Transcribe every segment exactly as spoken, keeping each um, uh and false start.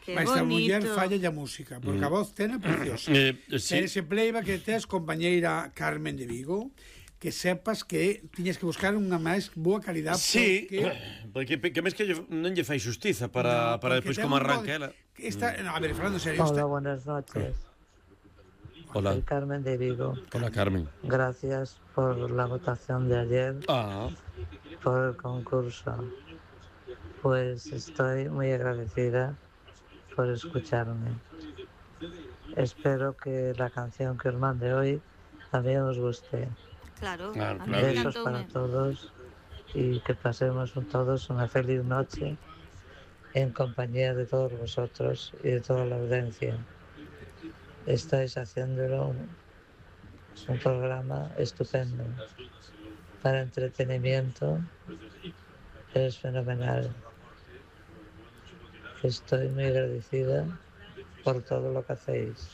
Que Mas a muller bonito. falla a música, porque Mm. a voz ten é preciosa. Eh, sí. Ese playback que tes, compañeira Carmen de Vigo, que sepas que tiñas que buscar unha máis boa calidad. Sí, porque, porque que mes que lle- non lle fai xustiza para, no, para porque despois ten como un arranca voz- ela. que Está, no, a ver, Fernando, en serio. Hola, Está, buenas noches. Hola. Soy Carmen de Vigo. Hola, Carmen. Gracias por la votación de ayer, Ah, por el concurso. Pues estoy muy agradecida por escucharme. Espero que la canción que os mande hoy también os guste. Claro, Claro, a mí claro. Besos encantoume. para todos y que pasemos todos una feliz noche en compañía de todos vosotros y de toda la audiencia. Estáis haciéndolo un, un programa estupendo. Para entretenimiento es fenomenal. Estoy muy agradecida por todo lo que hacéis.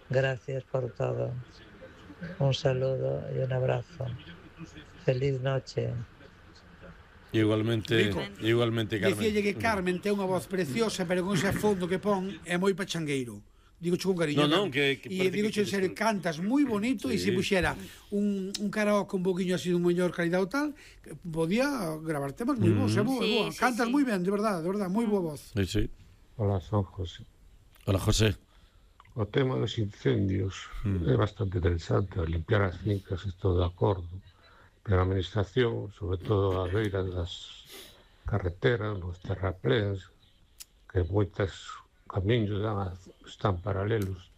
Gracias por todo. Un saludo y un abrazo. Feliz noche. igualmente, Rico. igualmente, Carmen. Dicíalle que Carmen ten unha voz preciosa, pero con ese fondo que pon é moi pachangueiro. Digo con cariño. No, no, Carmen. que- que E parece digo que en serio, queres- cantas moi bonito e Sí. se puxera un, un karaoke un poquinho así de mellor calidad ou tal, que podía gravar temas moi bons, é boa, é Sí, boa. sí, Cantas sí. moi ben, de verdade, de verdade, moi boa voz. Sí, sí. Hola, son José. Hola, José. O tema dos incendios Mm. é bastante interesante. Limpiar as fincas, estou de acordo. Pero a administración, sobre todo a beira das carreteras, nos terrapléns, que moitos camiños dan a, están paralelos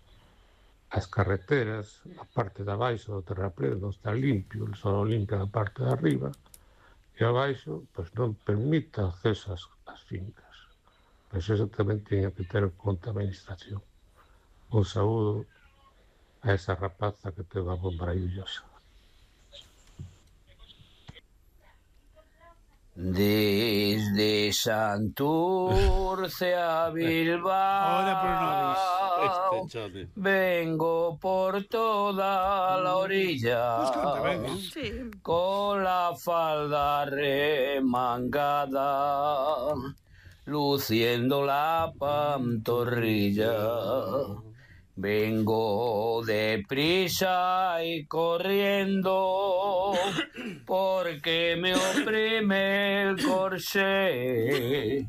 ás carreteras, a parte de abaixo do terraplén non está limpio, só limpian a parte de arriba, e abaixo pois non permite acceso ás, ás fincas. Pois eso tamén tiña que ter en conta a administración. Un saúdo a esa rapaza que ten unha voz maravillosa. Desde Santurce a Hola, Bilbao, Este chame. vengo por toda la Pois orilla, canta ben, eh? Sí. con la falda remangada, luciendo la pantorrilla. Vengo deprisa y corriendo porque me oprime el corsé.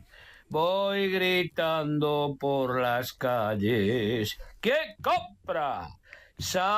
Voy gritando por las calles. ¿Quién compra? Sa